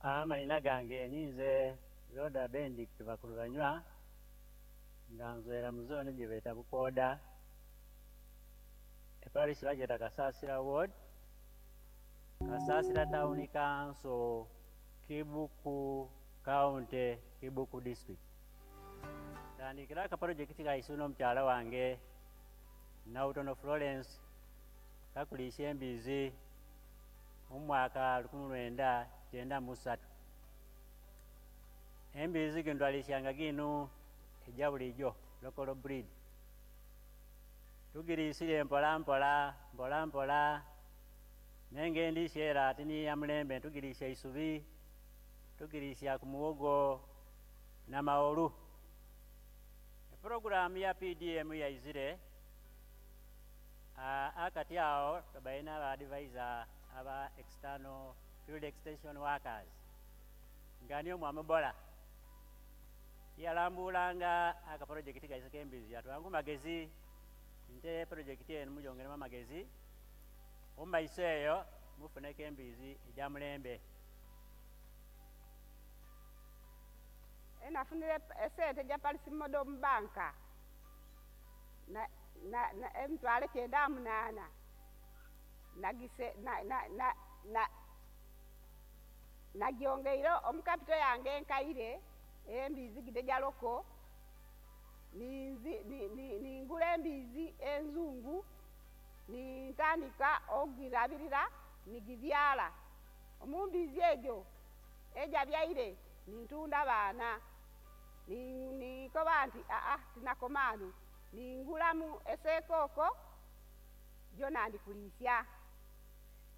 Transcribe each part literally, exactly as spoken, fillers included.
Amaina gange ninze Rhoda Benedict Bakurubanywa nga nzwera mu zone gye beeta Bukoda eparish bagyeta Kasasira ward Kasasira town council Kibuku county Kibuku district tandikira aka project kaisu n'omukyala wange Nautono Florence kakuliisya embizi mu mwaka lukumi lwenda kyenda mu ssatu embizi gino twaliisyanga ginu ejja bulijjo local breed tugiriisire mpola mpola mpola mpola nenga endiisya era ati ni ya mulembe tugiriisya isubi tugiriisya ku muwogo n'amawolu epuroguramu ya PDM yaizire uh, akati awo tubaine aba advisor aba external field extension workers nga niyo mwamubola yalambulanga aka project kaise k'embizi yatwangu magezi nte project eno mugyongeremu amagezi omumaiso eyo mufuneko embizi egya mulembe Enafunire esente ja Parish Model mu banka na, na, na emitwalo kyenda munaana nagise na, na, na, na, nagyongeire omu kapito yange enkaire embizi gide ja loko ninzi ningula embizi enzungu nintandika okugirabirira nigibyara omu mbizi egyo ejabyaire nintunda abaana ninkoba nti aa tinakoma hanu ningulamu esekooko gyona ndikuliisya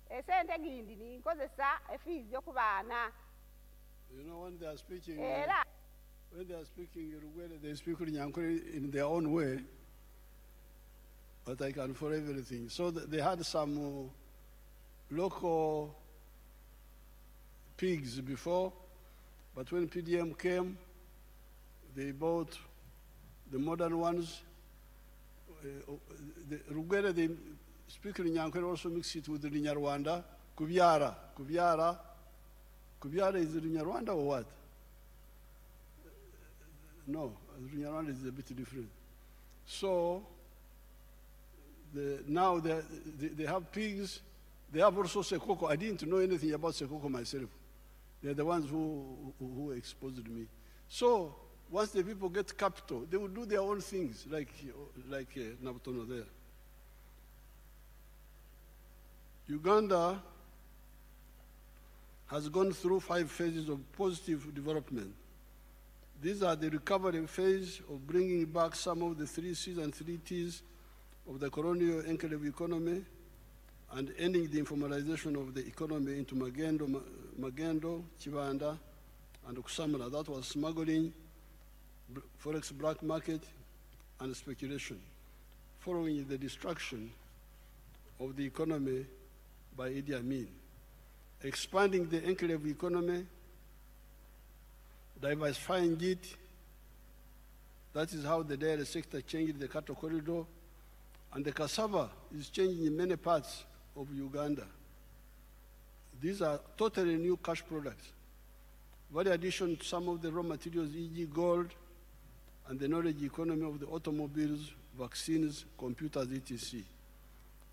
esente gindi ninkozesa efiizi okubaana You know, when they are speaking, era when they are speaking Rugwere, they speak Runyankore in their own way, but I can follow everything. So th- they had some uh, local pigs before, but when P D M came, they bought the modern ones. Uh, the Rugwere, they speak Runyankore, also mix it with Runyarwanda. Kubyara, Kubyara. Kubyara is Runyarwanda or what? No, Runyarwanda is a bit different. So the, now they, they, they have pigs. They have also Sekoko. I didn't know anything about Sekoko myself. They're the ones who, who, who exposed me. So once the people get capital, they will do their own things, like, like, uh, Nabutono there. Uganda has gone through five phases of positive development. These are the recovery phase of bringing back some of the three C's and three T's of the colonial enclave economy and ending the informalization of the economy into Magendo, Magendo, Chibanda, and Kusamura. That was smuggling, forex black market, and speculation, following the destruction of the economy by Idi Amin. Expanding the enclave economy, diversifying it. That is how the dairy sector changed the cattle corridor, and the cassava is changing in many parts of Uganda. These are totally new cash products. Value addition to some of the raw materials, for example gold, and the knowledge economy of the automobiles, vaccines, computers, et cetera.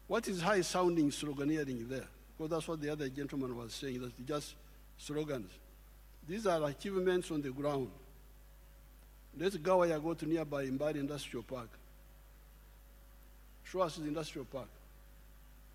What is high-sounding sloganeering there? Because that's what the other gentleman was saying, that it's just slogans. These are achievements on the ground. Let's go where you go to nearby Mbale Industrial Park. Show us the industrial park.